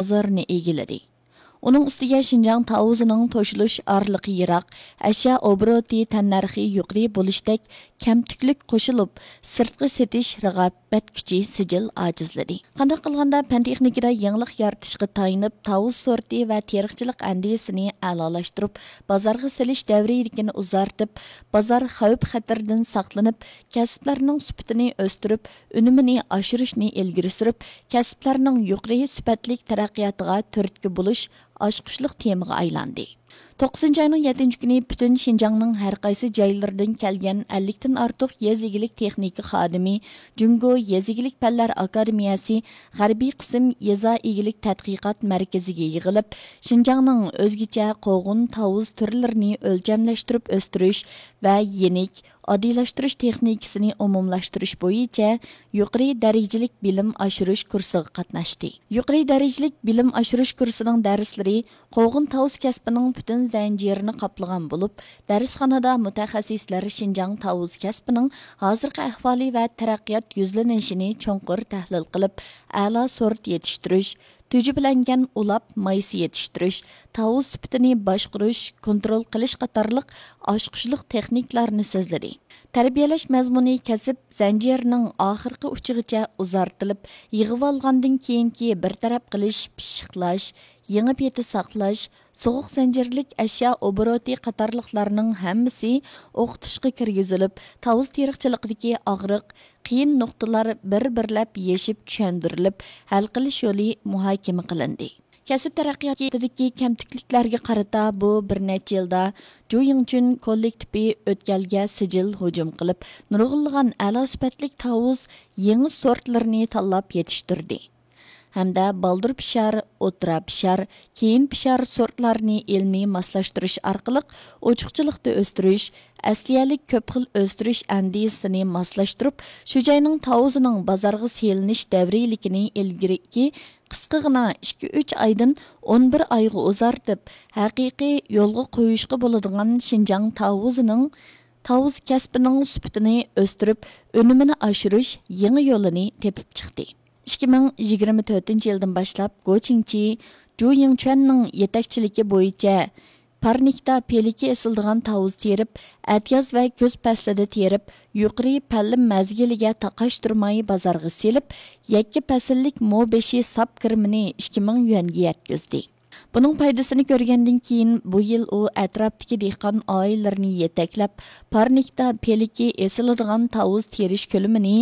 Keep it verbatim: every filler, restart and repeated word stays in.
بازىرىنى ئىگىلىدى. ئۇنىڭ ئۈستىگە شىنجاڭ تاۋۇزىنىڭ توشۇلۇش ئارىلىقى يىراق، ئەشيا ئوبوروتى تەننەرخى يۇقىرى بولۇشتەك كەمتۈكلۈك قوشۇلۇپ، سىرتقا سېتىش رىقابەت كۈچى سىجىل ئاجىزلىدى. قانداق قىلغاندا پەن تېخنىكىدا يېڭىلىق يارىتىشقا تايىنىپ، تاۋۇز سورتى ۋە تېرىقچىلىق ئەندىزىسىنى ئەلالاشتۇرۇپ، بازارغا سېلىش دەۋرىيلىكىنى ئۇزارتىپ، بازار خەۋپ خەتىرىدىن ساقلىنىپ، كەسىپلەرنىڭ سۈپىتىنى ئۆستۈرۈپ، ئۈنۈمىنى ئاشۇرۇشنى ئىلگىرى سۈرۈپ، كەسىپلەرنىڭ يۇقىرى سۈپەتلىك تەرەققىياتىغا تۈرتكە بولۇش ئاچقۇچلۇق تېمىغا ئايلاندى. توققۇزىنچى ئاينىڭ يەتتىنچى كۈنى پۈتۈن شىنجاڭنىڭ ھەر قايسى جايلىرىدىن كەلگەن ئەللىكتىن ئارتۇق يېزا ئىگىلىك تېخنىكا خادىمى جۇڭگو يېزا ئىگىلىك پەنلەر ئاكادېمىيەسى غەربىي قىسىم يېزا ئىگىلىك تەتقىقات مەركىزىگە يىغىلىپ، شىنجاڭنىڭ ئۆزگىچە قوغۇن تاۋۇز تۈرلىرىنى ئۆلچەملەشتۈرۈپ ئۆستۈرۈش ۋە يېنىك، ئاددىيلاشتۇرۇش تېخنىكىسىنى ئومۇملاشتۇرۇش بويىچە يۇقىرى دەرىجىلىك بىلىم ئاشۇرۇش كۇرسىغا قاتناشتى. يۇقىرى دەرىجىلىك بىلىم ئاشۇرۇش كۇرسىنىڭ دەرسلىرى قوغۇن تاۋۇز كەسپىنىڭ پۈتۈن زەنجىرىنى قاپلىغان بولۇپ، دەرسخانىدا مۇتەخەسسىسلەر شىنجاڭ تاۋۇز كەسپىنىڭ ھازىرقى ئەھۋالى ۋە تەرەققىيات يۈزلىنىشىنى چوڭقۇر تەھلىل قىلىپ، ئەلا سورت يېتىشتۈرۈش، تۈجۈپىلەنگەن ئۇلاپ مايسا يېتىشتۈرۈش، تاۋۇز سۈپىتىنى باشقۇرۇش، كونترول قىلىش قاتارلىق ئاچقۇچلۇق تېخنىكىلارنى سۆزلىدى. تەربىيەلەش مەزمۇنى كەسىپ زەنجىرىنىڭ ئاخىرقى ئۇچىغىچە ئۇزارتىلىپ، يىغىۋالغاندىن كېيىنكى بىر تەرەپ قىلىش، پىششىقلاش، يېڭى پېتى ساقلاش، سوغۇق زەنجىرلىك ئەشيا ئوبوروتى قاتارلىقلارنىڭ ھەممىسى ئوقۇتۇشقا كىرگۈزۈلۈپ، تاۋۇز تېرىقچىلىقىدىكى ئاغرىق، قىيىن نۇقتىلار بىر-بىرلەپ يېشىپ چۈشەندۈرۈلۈپ، ھەل قىلىش يولى مۇھاكىمە قىلىندى. كەسىپ تەرەققىياتىدىكى كەمتۈكلۈكلەرگە قارىتا بۇ بىر نەچچە يىلدا جۇ يىڭچۈن كوللېكتىپى ئۆتكەلگە سىجىل ھۇجۇم قىلىپ، نۇرغۇنلىغان ئەلا سۈپەتلىك تاۋۇز يېڭى سورتلىرىنى تاللاپ يېتىشتۈردى ھەمدە بالدۇر پىشار، ئوتتۇرا پىشار، كېيىن پىشار سورتلارنى ئىلمىي ماسلاشتۇرۇش ئارقىلىق ئوچۇقچىلىقتا ئۆستۈرۈش، ئەسلىيەلىك كۆپ خىل ئۆستۈرۈش ئەندىزىسىنى ماسلاشتۇرۇپ، شۇ جاينىڭ تاۋۇزىنىڭ بازارغا سېلىنىش دەۋرىيلىكىنى ئىلگىرىكى قىسقىغىنا ئىككى ئۈچ ئايدىن ئون بىر ئايغا ئۇزارتىپ، ھەقىقىي يولغا قويۇشقا بولىدىغان شىنجاڭ تاۋۇزىنىڭ، تاۋۇز كەسپىنىڭ سۈپىتىنى ئۆستۈرۈپ، ئۈنۈمىنى ئاشۇرۇش يېڭى يولىنى تېپىپ چىقتى. ئىككى مىڭ يىگىرمە تۆتىنچى يىلدىن باشلاپ، گو چىڭچى، جۇ يىڭچۈەننىڭ يېتەكچىلىكى بويىچە پارنىكتا پېلىكى ئېسىلىدىغان تاۋۇز تېرىپ، ئەتىياز ۋە كۈز پەسلىدە تېرىپ، يۇقىرى پەللىم مەزگىلىگە تاقاشتۇرماي بازارغا سېلىپ، يەككە پەسىللىك مو بېشى ساپ كىرىمىنى ئىككى مىڭ يۈەنگە يەتكۈزدى. بۇنىڭ پايدىسىنى كۆرگەندىن كېيىن، بۇ يىل ئۇ ئەتراپتىكى دېھقان ئائىلىلىرىنى يېتەكلەپ، پارنىكتا پېلىكى ئېسىلىدىغان تاۋۇز تېرىش كۆلىمىنى